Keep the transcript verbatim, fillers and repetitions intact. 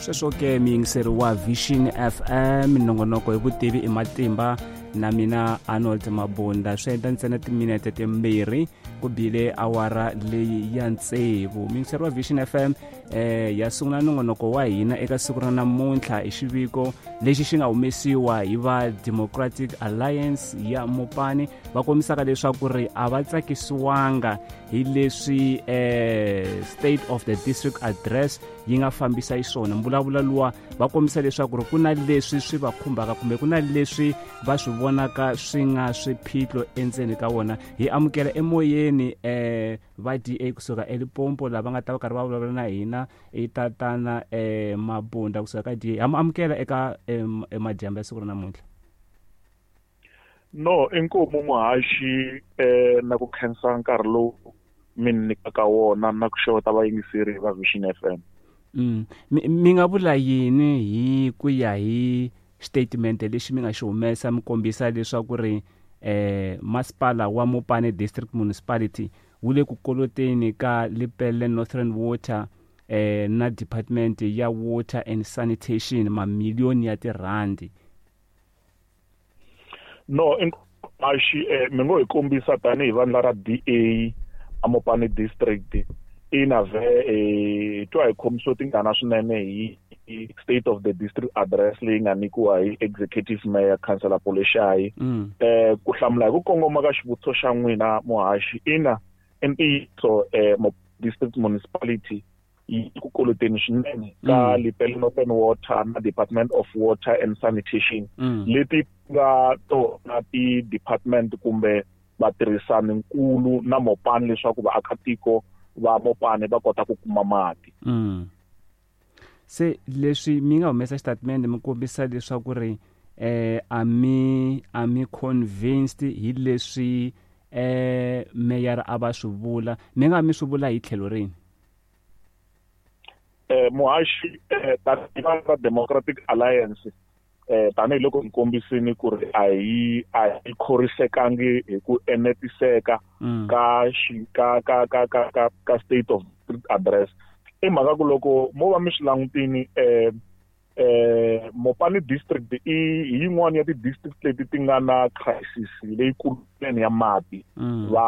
Sweswo ke, muyingiseri wa Vision F M, nongonoko hi vutivi i matimba, na mina Arnold Mabunda. Swi endla ntsena timinete timbirhi ku bile awara leyi ya tsevu. Muyingiseri wa Vision F M, eh ya sungula nongonoko wa hina eka siku ra namuntlha hi xiviko lexi xi nga humesiwa hi va Democratic Alliance ya Mopani, va kombisaka leswaku ri a va tsakisiwanga hi leswi eh State of the District Address yi nga fambisa xiswona. Mbulavulo luwa va kombisa leswaku ri ku na leswi swi va khumbaka kumbe ku na leswi va swi vonaka swi nga swiphiqo endzeni ka wona. Hi amukela emoyeni eh va D A kusuka eLimpopo lava nga ta va karhi va vulavula na hina, i tatana eh Mabunda kusuka ka D A. Ha mu amukela eka madyambu ya siku ra namuntlha. No, inkomu muhaxi, eh na ku khensa nkarhi lowu mi nyikaka wona na ku xeweta vayingiseri va Vision F M. mm. mi, mi nga vula yini hi ku ya hi statement lexi mi nga xi humesa, mi kombisa leswaku ri eh masipala wa Mopani District Municipality wu le ku koloteni ka Lepelle Northern Water eh na Department ya Water and Sanitation mamiliyoni ya tirhandi? No, muhaxi, eh, mi ngo hi kombisa tanihi vandla ra D A aMopani District, ina ve eh twa hi khomisiwe tingana swinene hi State of the District Address leyi nga nyikiwa hi Executive Mayor, Councillor Poleshai. mm. eh ku hlamula hi ku kongoma ka xivutiso xa n'wina muhaxi, ina, i ntiyiso, eh District Municipality yi ku koloteni swinene ka Mm. Lepelle Northern Water na Department of Water and Sanitation, Mm. leti nga tona ti-department kumbe vatirhisani nkulu na Mopani leswaku vaakatiko va Mopani va kota ku kuma mati. Mm. se leswi mi nga humesa xitatimende mi kombisa leswaku ri eh a mi a mi convinced hi leswi eh mayor a va swi vula, mi nga mi swi vula hi tlhelo rini? eh muhaxi, eh tanihi va Democratic Alliance, eh tanihiloko hi kombisini ku ri a hi a hi khorisekangi hi ku enetiseka mm. ka xi ka ka ka ka ka ka State of Address, i mhaka ku loko mo va mi swi langutini, eh eh Mopani District i hi yin'wana ya ti-district leti ti nga na crisis leyikulu swinene ya mati. Mm. Va